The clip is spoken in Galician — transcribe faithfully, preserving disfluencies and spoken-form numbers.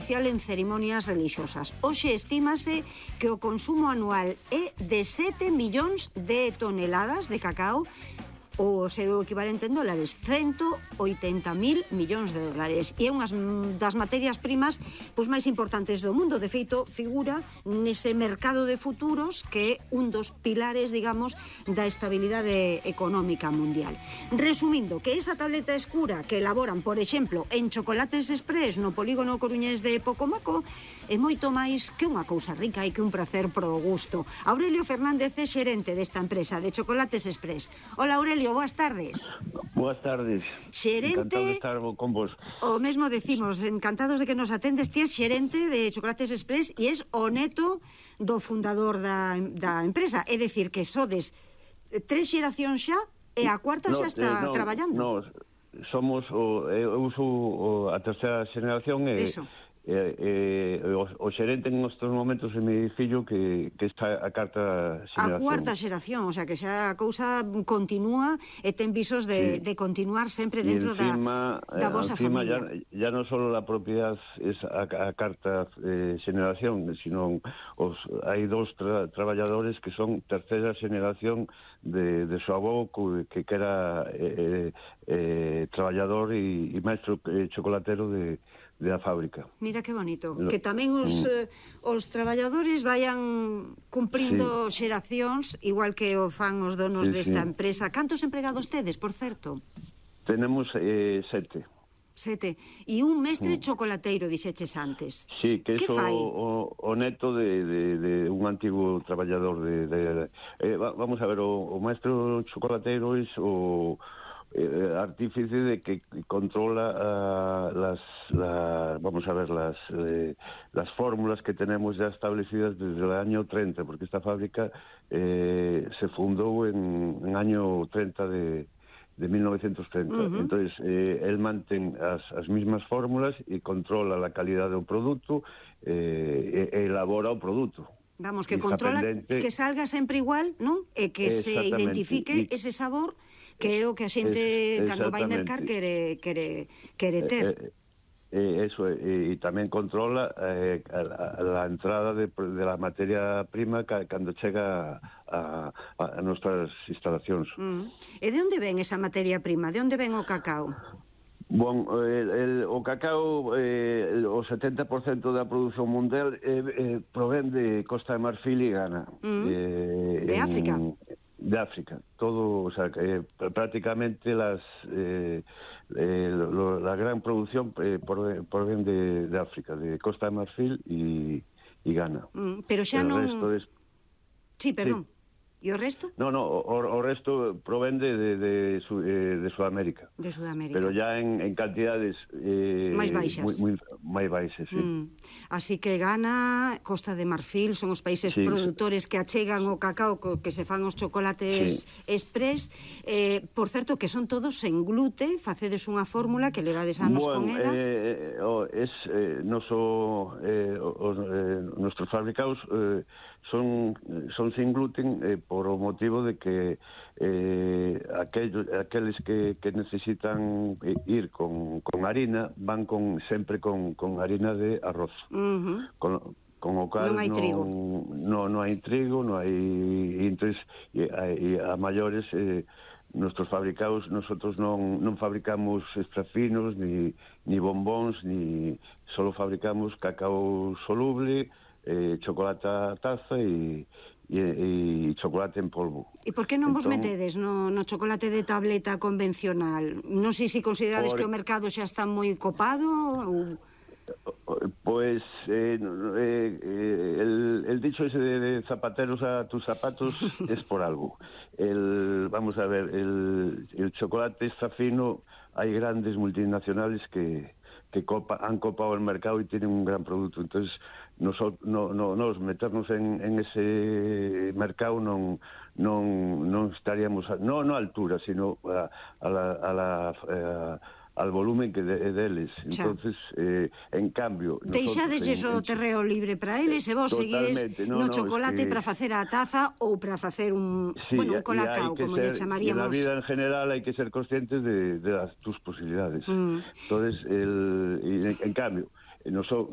especial en cerimonias religiosas. Hoxe estímase que o consumo anual é de sete millóns de toneladas de cacao, o seu equivalente en dólares, ciento oitenta mil millóns de dólares. E é unhas das materias primas pois máis importantes do mundo. De feito, figura nese mercado de futuros que é un dos pilares, digamos, da estabilidade económica mundial. Resumindo, que esa tableta escura que elaboran, por exemplo, en Chocolates Express no polígono coruñés de Pocomaco, é moito máis que unha cousa rica e que un prazer pro gusto. Aurelio Fernández é xerente desta empresa de Chocolates Express. Hola, Aurelio, boas tardes. Boas tardes. Xerente... Encantado de estar con vos. O mesmo decimos, encantados de que nos atendes. Ti és xerente de Chocolates Express e és o neto do fundador da, da empresa. É dicir, que sodes tres xeracións xa e a cuarta xa está no, traballando. No, somos, o, eu uso o, a terceira xeración e... Eso. Eh, eh, o, o xerente en estes momentos é mi fillo que, que está a carta xeración. A cuarta xeración, o sea que xa a cousa continúa e ten visos de, sí. de continuar sempre dentro encima, da, da vosa encima familia. Ya, ya non só a propiedade es a, a carta eh, xeración, sino os, hai dos tra, traballadores que son terceira xeración de, de súa avó que, que era eh, eh, traballador e, e maestro eh, chocolatero de de a fábrica. Mira que bonito, que tamén os, eh, os traballadores vayan cumprindo sí. xeracións, igual que o fan os donos sí, desta sí. empresa. Cantos empregados tedes, por certo? Tenemos eh, sete. Sete. E un mestre mm. chocolateiro, dixeches antes. Sí, que é o, o neto de, de, de un antigo traballador de... de eh, vamos a ver, o, o maestro chocolateiro é o... Eh, artífice de que controla uh, las, la, vamos a ver, las, eh, las fórmulas que tenemos ya establecidas desde el año treinta, porque esta fábrica eh, se fundó en, en año treinta de, de mil novecientos treinta. Uh-huh. Entonces, eh, él mantén as, as mismas fórmulas e controla la calidad do produto eh, e, e elabora o produto. Vamos, que controla pendente... que salga sempre igual, non? E que se identifique y... ese sabor que é o que a xente, cando vai mercar, quere, quere, quere ter. Eh, eh, eso, e eh, tamén controla eh, a, a, a entrada de, de la materia prima ca, cando chega a, a, a nuestras instalacións. Mm. E de onde ven esa materia prima? De onde ven o cacao? Bon, el, el, o cacao, eh, o setenta por cento da produción mundial eh, eh, provén de Costa de Marfil e Ghana. Mm. Eh, de en, África? De África. Todo, o sea, eh, prácticamente las, eh, eh, lo, la gran producción eh, provén de, de África, de Costa de Marfil e Ghana. Mm, pero xa non... Es... Sí, perdón. Sí. E o resto? No, no, o, o resto provén de, de, de, su, eh, de Sudamérica. De Sudamérica. Pero ya en, en cantidades... Eh, máis baixas. Moi, moi, máis baixas, sí. Mm. Así que Ghana, Costa de Marfil, son os países sí. produtores que achegan o cacao co que se fan os chocolates sí. express. Eh, por certo, que son todos en glute, facedes unha fórmula que levades anos bueno, con ela. Eh, oh, es, eh, noso, eh, os, eh, nuestros fabricados eh, son, son sin gluten eh, por o motivo de que eh, aquellos, aqueles que, que necesitan ir con, con harina van con sempre con, con harina de arroz. Uh-huh. Con, con o cal non hai trigo. Non no hai trigo, non hai... E, entonces, e, e a maiores... Eh, nuestros fabricados, nosotros non, non fabricamos extrafinos, ni, ni bombóns, ni solo fabricamos cacao soluble, eh, chocolate a taza e, e, e chocolate en polvo. E por que non vos entón, metedes no, no chocolate de tableta convencional? Non sei se considerades por... que o mercado xa está moi copado ou... Pues eh, eh, el, el dicho ese de, de zapateros a tus zapatos es por algo. El, vamos a ver, el, el chocolate está fino, hay grandes multinacionales que, que copa, han copado el mercado y tienen un gran producto. Entonces, nosotros, no, no, nos meternos en, en ese mercado non, non, non estaríamos, a, no, no a altura, sino a, a la... A la a, al volumen que de, deles. Entonces, eh, en cambio... Deixadesles o terreo libre para eles e vos seguides no, no chocolate es que... para facer a taza ou para facer un, sí, bueno, un colacao, como lle chamaríamos. En la vida en general hai que ser conscientes de, de las, tus posibilidades. Mm. Entonces, el, en, en cambio, nos, nos